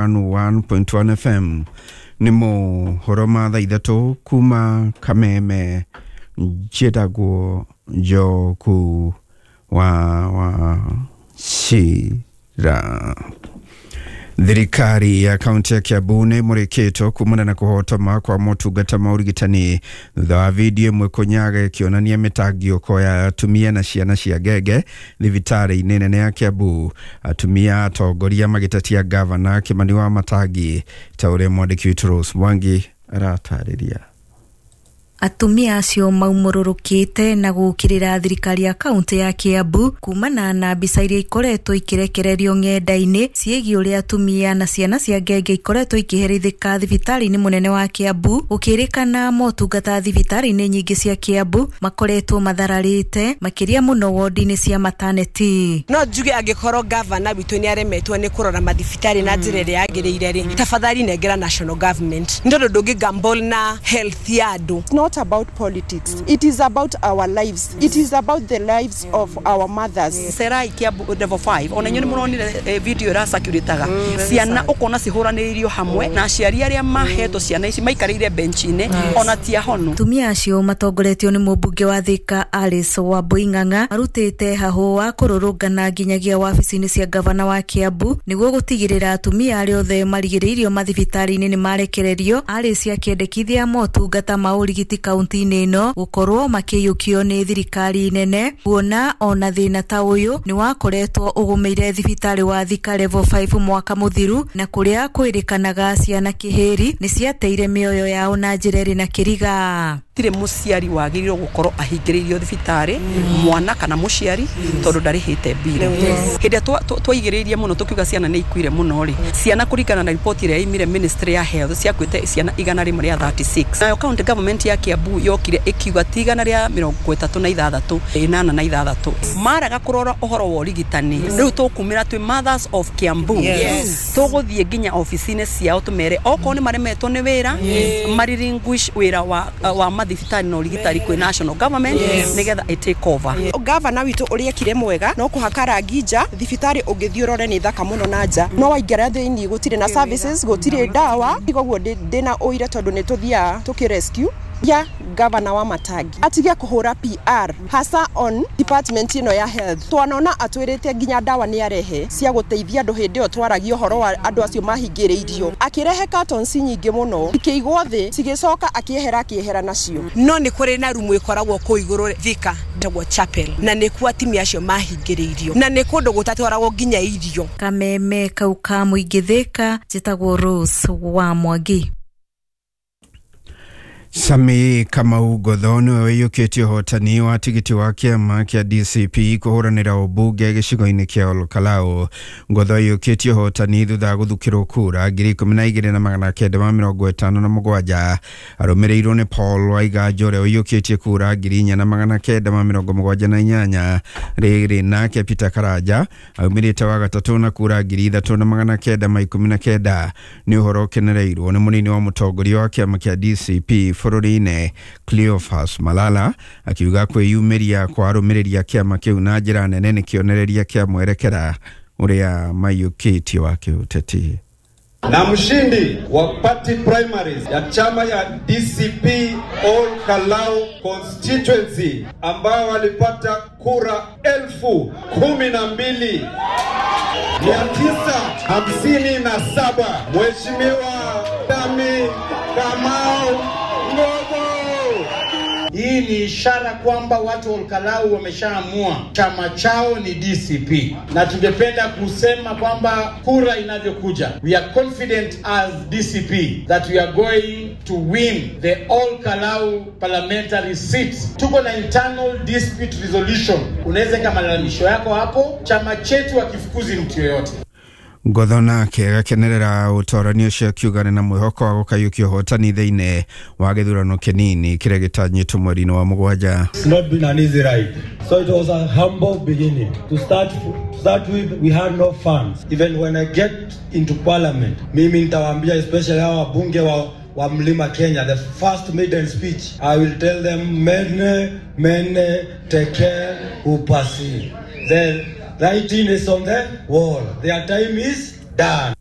101.1 FM. Nĩ mohoro ma thaa 3 kuma Kameme. Njĩtagwo Njoku wa Wachira. Thirikari ya kaunti ya Kiambu nĩ ĩmũrĩkĩtwo kumana na kũhotoma kwa motungata ma ũrigitani thutha wa video ĩmwe kũnyaga ĩkĩonania mĩtangĩko ya atumia na ciana cia ngenge thibitarĩ-inĩ nene ya Kiambu. Atumia atongoria magĩtetia gavana Kimani wa Matangi, ta ũrĩa mwandĩki witũ Rose Mwangi aratarĩria. Atumia acio maumũrũrũkĩte na gũkĩrĩra thirikari ya kaunti ya Kiambu kumana na mbica iria ikoretwo ikirekererio ng'enda-inĩ ciĩgiĩ ũrĩa atumia na ciana cia ngenge ikoretwo ikĩherithĩka thibitarĩ-inĩ mũnene wa Kiambu. Gũkĩrĩkana motungata thibitarĩ-inĩ nyingĩ cia Kiambu makoretwo mathararĩte makĩria mũno wodi-inĩ cia maternity. No njuge angĩkorwo gavana witũ nĩ aremetwo nĩ kũrora mathibitarĩ na njĩra ĩrĩa yagĩrĩire rĩ, tafadhali nengera national government, nĩ tondũ ndũngĩ gamble na health ya andũ. Not about politics. It is about our lives. It is about the lives of our mothers. Serai Kiambu level 5 ona inyuĩ nĩ mũronire video ĩra circulataga ciana ũkona cihũranĩirio hamwe na aciari arĩa mahetwo ciana ici maikarĩire bench-inĩ ona ti ahonu. Atumia acio matongoretio nĩ mũmbunge wa Thika Alice Wambui Ng'ang'a marutĩte hahũ wa kũrũrũngana nginyagia wabici-inĩ cia gavana wa Kiambu nĩguo gũtigĩrĩra atumia arĩa othe marigĩrĩirio mathibitarĩ-inĩ nĩ marekererio. Alice akĩendekithia motungata ma ũrigiti kaunti-inĩ ĩno gũkorwo makĩiyũkio nĩ thirikari nene, kuona ona thĩna ta ũyũ nĩ wakoretwo ũgũmĩire thibitarĩ wa Thika level 5 mwaka mũthiru, na kũrĩa kwĩrĩkanaga ciana kĩhĩri nĩ ciateire mĩoyo yao na njĩra ĩrĩ na kĩriga. Gũtirĩ mũciari wagĩrĩirwo gũkorwo ahingĩrĩirio thibitarĩ mwana kana mũciari tondũ ndarĩhĩte mbirũ. Hĩndĩ ĩrĩa twaigĩrĩirie mũno tũkiuga ciana nĩ ikuire mũno rĩ, ciana kũringana na riboti ĩrĩa yaumire ministry ya health ciakuĩte ciana 136. Nayo county government ya Kiambu yokire ĩkiuga ti 136 86. Maraga kũrora ũhoro wa ũrigitani. Rĩu tũkumĩra twĩ Mothers of Kiambu. Tũgũthiĩ nginya obici-inĩ ciao tũmere okorwo nĩ maremetwo nĩ wĩra mariringuish wĩra wa mathibitarĩ na ũrigitani kwĩ national government nĩgetha ĩ take over. Gavana witũ ũrĩa ekire mwega no kũhaka rangi nja thibitarĩ, ũngĩthiĩ ũrore nĩ thaka mũno na nja, no waingĩra thĩinĩ gũtirĩ na services, gũtirĩ ndawa. Koguo ndĩna ũira tondũ nĩ tũthiaga tũkĩ rescue ya gavana wa Matangi atige kũhũra PR hasa on department ĩno ya health. Twanona atwĩrĩte nginya ndawa nĩ arehe cia gũteithia andũ hĩndĩ ĩyo twaragia ũhoro wa andũ acio mahingĩrĩirio, akĩrehe cartons nyingĩ mũno ikĩigwo thĩ cigĩcoka akĩehera nacio. No nĩ kũrĩ na rumu ĩkoragwo kũu igũrũ Thika ĩtagwo chapel, na nĩkuo atumia acio mahingĩrĩirio na nĩ kũndũ gũtatwaragwo nginya irio. Kameme kau ka mũingĩ Thika, njĩtagwo Rose wa Mwangi. Sami Kamau Ngotho nĩwe ũiyũkĩtie ũhotani wa tigiti wa kĩama kĩa DCP kũhũranĩra ũmbunge gĩcigo-inĩ kĩa Olkalau. Ngotho aiyũkĩtie ũhotani thutha wa gũthukĩrwo kura 12,957, arũmĩrĩirwo nĩ Paul Waiganjo ũrĩa ũiyũkĩtie kura 4,978. Rĩrĩ nake Peter Karanja aumĩrĩte wa gatatũ na kura 3,919. Nĩ ũhoro ũkenereirwo nĩ mũnini wa mũtongoria wa kĩama kĩa DCP bũrũri-inĩ Cleophas Malala, akiuga kwĩyumĩria kwa arũmĩrĩri a kĩama kĩu na njĩra nene nĩ kĩonereria kĩa mwerekera ũrĩa maiyũkĩtie wa kĩũteti. Na mshindi wa party primaries ya chama ya DCP Ol Kalou constituency ambao walipata kura 12,957, Mheshimiwa Dami Kamau Ngotho. Hii ni ishara kwamba watu wa Olkalau wameshaamua chama chao ni DCP, na tungependa kusema kwamba kura inavyokuja, we are confident as DCP that we are going to win the Olkalau parliamentary seat. Tuko na internal dispute resolution, unaweza weka malalamisho yako hapo. Chama chetu hakifukuzi mtu yoyote. Ngotho nake agakenerera ũtorani ũcio akiuga nĩ na mwĩhoko wa gũkaiyũkia ũhotani thĩinĩ wa gĩthurano kĩnini kĩrĩa gĩtanyĩtwo mweri-inĩ wa 7. It's not been an easy ride. So it was a humble beginning. To start with, we had no funds. Even when I get into parliament, mimi nitawaambia especially hawa wabunge wa Mlima Kenya, the first maiden speech, I will tell them mene mene tekel upasi. The writing is on the wall. Their time is done.